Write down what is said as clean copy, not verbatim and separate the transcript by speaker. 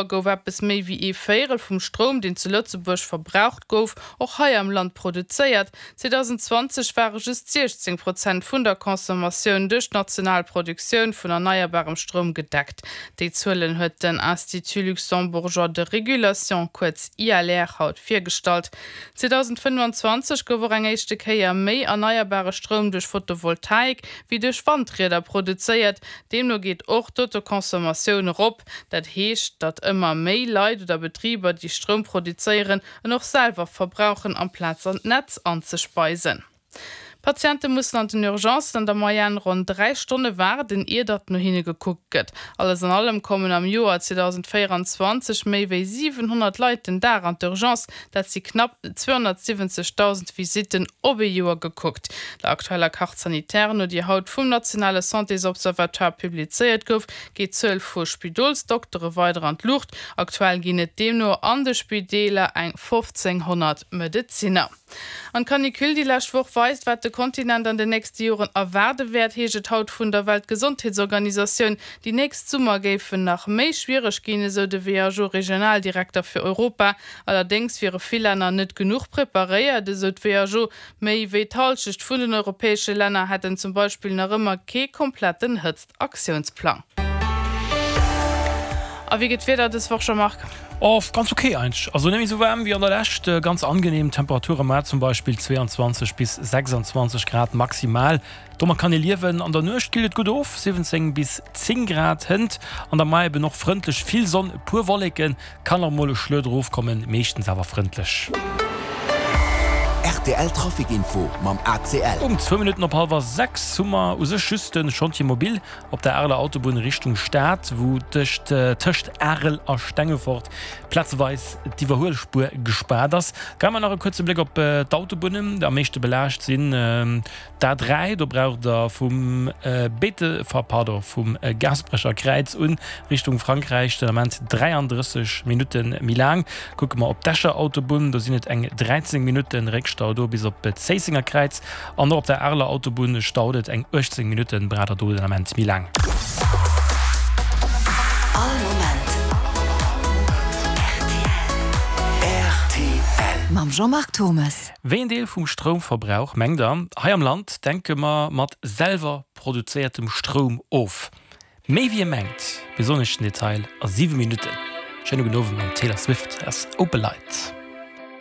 Speaker 1: Gouf eppes méi wéi ee Véierel vum Stroum, deen zu Lëtzebuerg verbraucht gouf, och hei am Land produzéiert. 2020 ware just 16 Prozent vun der Consommatioun duerch d'national Produktioun vun erneierbarem Stroum gedeckt. Déi Zuelen huet den Institut luxembourgeois de régulation, kuerz ILR, haut virgestallt. 2025 gouf och eng éischte Kéier méi erneierbare Stroum duerch Photovoltaik wéi duerch Wandrieder produzéiert. Deemno geet och d'Autoconsommatioun erop. Dat heescht, datt ëmmer méi Leit oder Betriber, déi Stroum produzéieren, en och selwer verbrauchen, amplaz an d'Netz anzespeisen. Patiente mussen an den Urgencen an der Moyenne ronn 3 Stonne waarden, ier datt no hinne gekuckt gëtt. Alles an allem kommen am Joer 2024 méi wéi 700 Leit den Dag an d'Urgence, Dat si knapp 270.000 Visitten op ee Joer gekuckt. Der aktueller Carte sanitaire no, déi haut vum nationale Santésobservatoire publizéiert gouf, geet d'Zuel vu Spidolsdoktere weider an d'Luucht. Aktuell ginn et deemno an de Spideeler eng 1.500 Medezinner. An d'Canicule déi lescht Woch weist, wat de Kontinent an den nächste Joren erwaarde wäert, heescht et haut vun der Weltgesondheetsorganisatioun. Déi nächst Summer géifen nach méi schwiereg ginn, esou de WHO-Regionaldirekter fir Europa. Allerdéngs wiere vill Länner net genuch preparéiert, esou d'WHO. Méi wéi d'Hallschecht vun den europäesche Länner hätten zum Beispill nach ëmmer kee kompletten Hëtzt-Aktiounsplang. A wéi gëtt d'Wieder dës Woch, Jean-Marc?
Speaker 2: Oh, ganz ok eigentlech. Also net méi esou waarm wéi an der Lescht, ganz angenehm Temperature mar zum Beispill 22 bis 26 Grad maximal. Domat kann ee liewen. An der Nuecht killt et gutt of, 17 bis 10 Grad. Hënt an der Moie eben och frëndlech, vill Sonn, e puer Wolleken, kann och mol e Schluet erofkommen, meeschtens awer frëndlech.
Speaker 3: Rtl Trafic Info mam ACL.
Speaker 2: Um zwou Minutten op hallwer 6 hu mer u sech just de Chantier mobile op der Areler Autobunn Richtung Stad, wou tëscht tëscht Arel a Stengefort plazeweis d'Iwwerhuelspuer gespaart ass. Geie mer nach e kuerze Bléck op d'Autobunnen. Am meeschte belaascht sinn D'A3, do braucht der vum Bete, pardon, vum Gaasperecher Kräiz un Richtung Frankräich den Ament 33 Minutte méi laang. Kucke mer op d'Escher Autobunn, do sinn et eng 13 Minutte Réckstau do bis op d'Zéissenger Kräiz. An och op der Areler Autobunn staut et eng 18 Minutte, braucht der do den Ament méi laang.
Speaker 3: All Moment rtl. Mam Jean-Marc Turmes.
Speaker 2: Wéi en Deel vum Stroumverbrauch, mengt der, hei am Land denke mer mat selwer produzéiertem Stroum of? Méi wéi e mengt. Mir soen iech den Detail a 7 Minutten. Schéine gudden Owend mam Taylor Swift aus Opalite.